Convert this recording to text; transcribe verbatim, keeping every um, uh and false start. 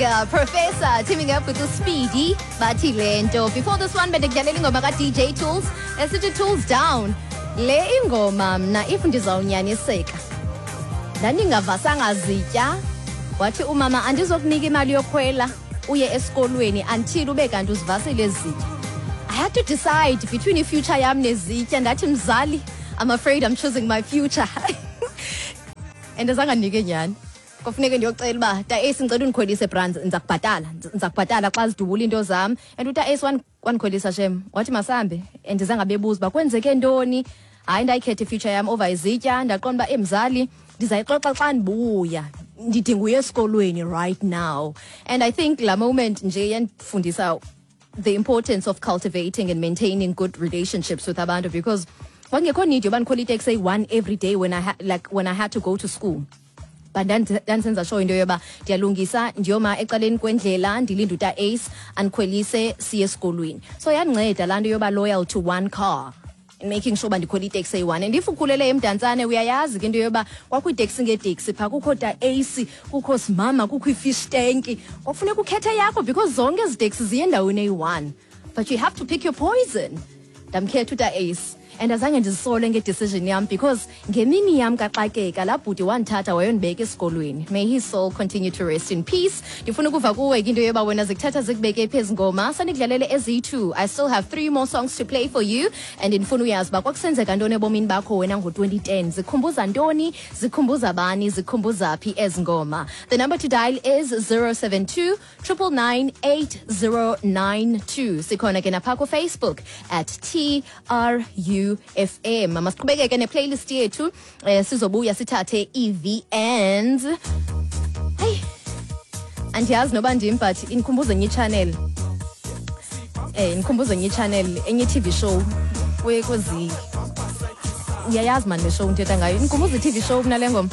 Uh, Professor teaming up with uSpeedy, bathi le nto. Before this one, bendikudlalela ingoma ka-D J Tools esithi "Tools Down". Le ingoma mna, if ndizawunyaniseka, ndandingavasanga zitya. Wathi umama, "Andizokunika imali yokhwela uye esikolweni until ube kanti uzivasile ezi zitya." I had to decide between i-future yam nezitya. Ndathi, "Mzali, I'm afraid I'm choosing my future," and azange andinike nyhani. Kwafuneke ndiyocela uba, "Ta Ace, ndicela undikhwelise, bra, ndiza kubhatala, ndiza kubhatala xa zidubula iinto zam." And uta Ace wan- wandikhwelisa shem, wathi masambe, and zange bebuza uba kwenzeke ntoni. Hayi, ndayikhetha i-future yam over izitya. Ndaqonda uba, emzali, ndizayixoxa xa ndibuya, ndidinga uya esikolweni right now. And I think laa moment nje yandifundisa the importance of cultivating and maintaining good relationships with abantu, because kwakungekho need yoba ndikhwele iteksi eyi-one every day when I, ha like when I had to go to school, but ndandi- ndandisenza sure into yoba ndiyalungisa, ndiyoma ecaleni kwendlela, ndilinde uta Ace andikhwelise siye esikolweni. So yandinceda laa nto yoba loyal to one car and making sure uba ndikhwela iteksi eyi-one. And if ukhulele eMdantsane, uyayazi ke into yoba kwakho iiteksi ngeeteksi phaa, kukho ta Ace, kukho simama, kukho i-fish tank. Kwakufuneka ukhethe yakho because zonke ezi teksi ziye endaweni eyi-one, but you have to pick your poison. Ndamkhetha uta Ace and azange ndizisole nge-decision yam, because ngemini yam kaxakeka, laa bhuti wandithatha wayondibeka esikolweni. May his soul continue to rest in peace. Ndifuna ukuva kuwe ke into yoba wena zikuthatha zikubeke phezu ngoma. Sandikudlalele eziyi-two. I still have three more songs to play for you, and ndifuna uyazi uba kwakusenzeka ntoni ebomini bakho wena ngo-twenty ten. Zikhumbuza ntoni, zikhumbuza bani, zikhumbuza phi ezi ngoma? The number to dial is zero seven two nine nine nine eight zero nine two. Sikhona ke napha kuFacebook at T R U F M. Masiqhubekeke ne-playlist yethu, eh, sizobuya sithathe ii-V Ns. Heyi, andiyazi noba ndim, but indikhumbuza enye i-channel, eh indikhumbuza enye i-channel, enye i-T V show kwe- kwezi. Uyayazi mani le show ndithetha ngayo? Indikhumbuza i-T V show kunale ngoma.